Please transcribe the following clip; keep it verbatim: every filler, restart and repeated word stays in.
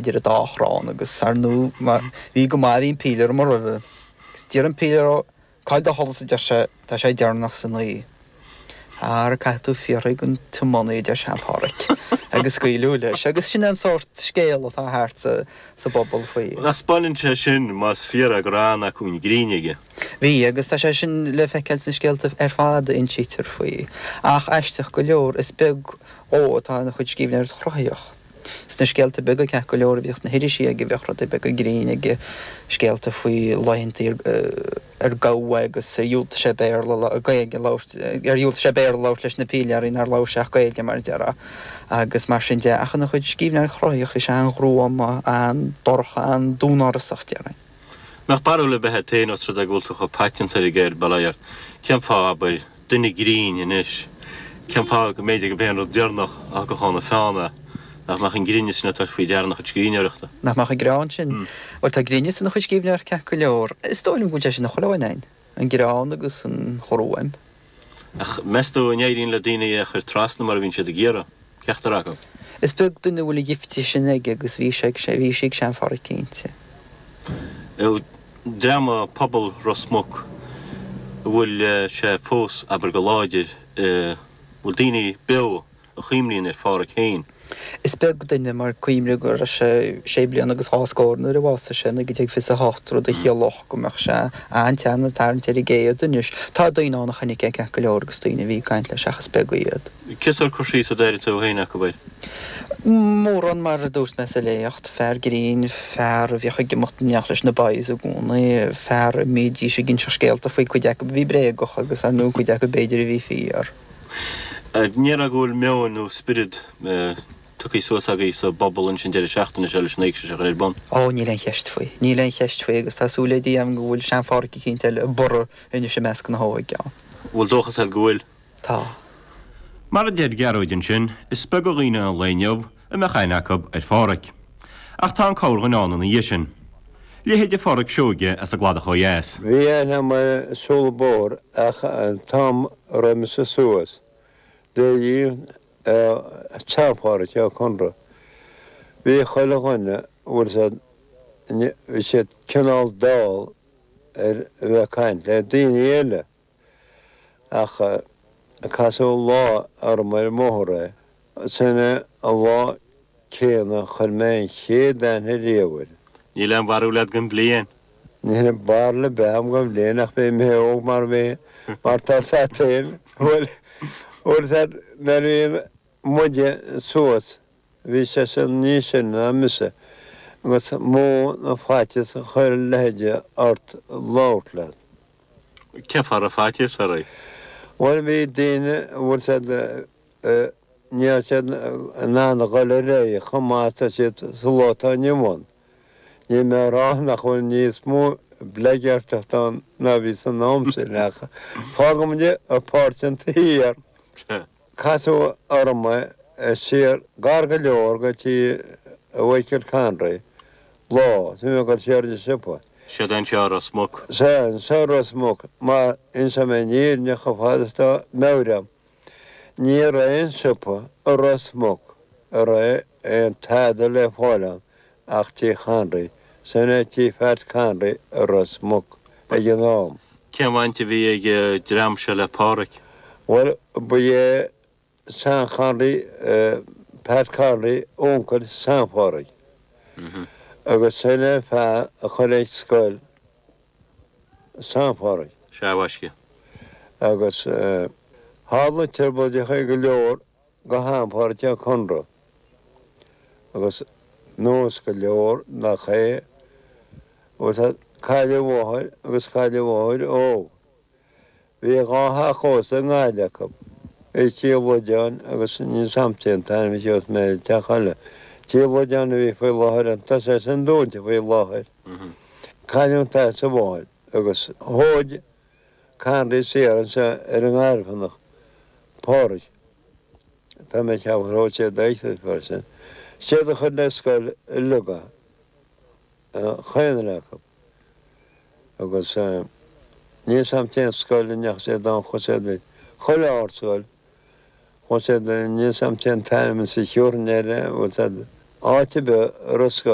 idir an dá chrann agus ar ndóigh má bhí go maith bhí an pílear amuigh roimhe. Agus d'iarr an pílear ó Cá'il do sholas a deir sé, tá sé deireanach san oíche. Ara caithfidh tú fiafraí den tiománaí a deir Sean-Pháraic agus scaoileadh leis. Agus sin an sórt scéal atá thart sa sa bpobal faoi. Nach 'speáineann sé sin, más fíor é, go raibh an-acmhainn grinn aige? Bhí, agus tá sé sin le feiceáil sna scéalta ar fad a insítear faoi. Ach aisteach go leor, is beag dhó atá ina chuid scríbhneoireacht chruthaíoch. Sna scéalta beaga ceart go leor a bhíodh sna hirisí aige bheadh rudaí beaga grinn aige, scéalta faoi laethanta ar gabhadh é agus ar dhiúltaigh sé Béarla, Gaeilge a labhairt, ar dhiúltaigh sé Béarla a labhairt leis na pílearaí nár labhair sé ach Gaeilge mar a déarfá agus mar sin de. Ach ina chuid scríbhneoireacht chruthaíoch bhí sé an-ghruama, an-dorcha, an-dúnárasach déarfainn. Mbeadh barúil ar bith agat féin os rud é go bhfuil tú chomh paiteanta ar an gceird, bail ó Dhia ort, cén fáth, abair, duine grinn anois, cén fáth go mb'fhéidir go b'é an rud deireanach a thiocfadh óna pheann é, nach mbeadh an grinneas sin ag tabhairt faoi deara ina chuid scríbhneoireachta? Nach mbeadh an greann sin? Bhuel, tá grinneas ina chuid scríbhneoireachta ceart go leor. Is dóigh liom go bhfuil sé sin i chuile dhuine againn, an greann agus an ghruaim. Ach meas tú an éiríonn le daoine é a chur trasna mar a bhíonn siad ag iarraidh, ceachtar acu? Is beag duine a bhfuil an gifte sin aige agus bhí sé ag, bhí sí ag Sean-Pháraic cinnte. Dream pobal Ros Muc, an bhfuil sé fós, abair, go láidir, an bhfuil daoine beo a chuimhníonn ar Pháraic féin? Is beag duine, mar cuimhnigh go raibh sé sé bliana agus dhá scór nuair a bhásaigh sé i naoi déag fiche a hocht, rud a chiallódh go mbeadh sé an-tsean, ag tarraingt ar an gcéad anois. Tá daoine ann a chonaic é ceart go leor agus daoine a bhí ag caint leis ach is beag iad. Cén sórt cur síos a déarfaidh tú féin acu air? Mórán mar a dúirt mé sa léacht, fear grinn, fear a bhíodh ag imeacht in éineacht leis na boys i gcónaí, fear a mbídís ag inseacht scéalta faoi, cuid acu a bhí bréagach agus ar ndóigh cuid acu b'fhéidir a bhí fíor. An ndéarfá go bhfuil meon nó spiorad tugtha suas agaibh sa bpobal anois an deireadh seachtaine seo leis an éigse seo a chur ar bun? Ó, níl aon cheist faoi. Níl aon cheist faoi agus tá súil le Dia agam go bhfuil Sean-Pháraic eicínt eile ag borradh anois i measc na hóige ann. Bhfuil dóchas agat go bhfuil? Tá. Mar a deir Gearóid ansin, is beag de dhaoine an lae inniu a mbeadh aithne acu ar Pháraic. Ach tá an corrdhuine ann ina dhiaidh sin. Leithéide Pháraic Seoige as an gCladach ó dheas. Bhí aithne agam air ag siúl an bóthar ach an t-am a raibh mise suas, d'éirigh Sean-Pháraic Ó Conaire. Bhí chuile dhuine, bhfuil 's a'd, bhí siad cineál dall ar a bheith ag caint le daoine eile. Ach casadh lá orm ar an mbóthar é. Sin é an lá céanna a chuir mé an chéad aithne riamh air. Níl aon bharúil agat den bhliain? Níl barúil ar bith agam den bhliain ach bhí mé óg mar bhí, mar tá 's a'd féin, bhuel, bhfuil 's a'd, nuair a bhí muide suas, bhí seisean níos sine ná mise agus mó na faitíos a chuir a leithéide ort labhairt leat. Cén fáth a raibh faitíos oraibh? Bhuel, bhí daoine, bhfuil 's a'd, ní raibh siad in ann a dhul ar aghaidh chomh maith is atá siad sa lá atá inniu ann. Níl mé ag rá nach bhfuil níos mó bleaigeartachta ann ná bhí san am sin ach fágfaimid an pháirt sin thiar. Casadh orm é siar gar go leor go tí Mhichael Conroy lá is mé ag dul siar an siopa. Siod é anseo i Ros Muc. Sea, anseo i Ros Muc, mar inseoidh mé an fhírinne chomh fada is atá meabhair agam. Ní raibh aon siopa i Ros Muc a raibh aon tada le fáil ann ach tí Chonroy, sin é tí Phat Conroy i Ros Muc ag an am. Cén bhaint a bhí ag an dream seo le Páraic? Bhuel, ba é Seán Conroy, Pat Conroy, uncail Sean Pháraic. Agus sin é an fear a chuir ag scoil Sean Pháraic. Sea, a mhaisce. Agus tharla trioblóideacha go leor go ham Pháraic Ó Conaire. Agus nós go leor nach é, agus cailleadh a mháthair agus cailleadh a mháthair óg. Bhí dhá theach ósta i nGaillimh acu, i Tí Loideáin agus níl 's a'm cén t-ainm a sheos mé ar an teach eile. Tí Loideáin a bhí faoi láthair an tá sé sin dúnta faoi láthair. Cailleadh an t-athair is an mháthair agus thóg Conroy siar anseo ar an nGairfeanach, Páraic. Tá mé ag ceapadh gur thóg siad é fear sin. Siad a chuir le scoil uilig é. Chaon duine acu. Agus níl 's a'm cén scoil a ndeachaigh siad ann, chuaigh siad chuile ardscoil, chuaigh siad, níl 's a'm cén t-ainm is a thiúrfainn air, bhfuil 's a'd, Áit ar bith ar scoil.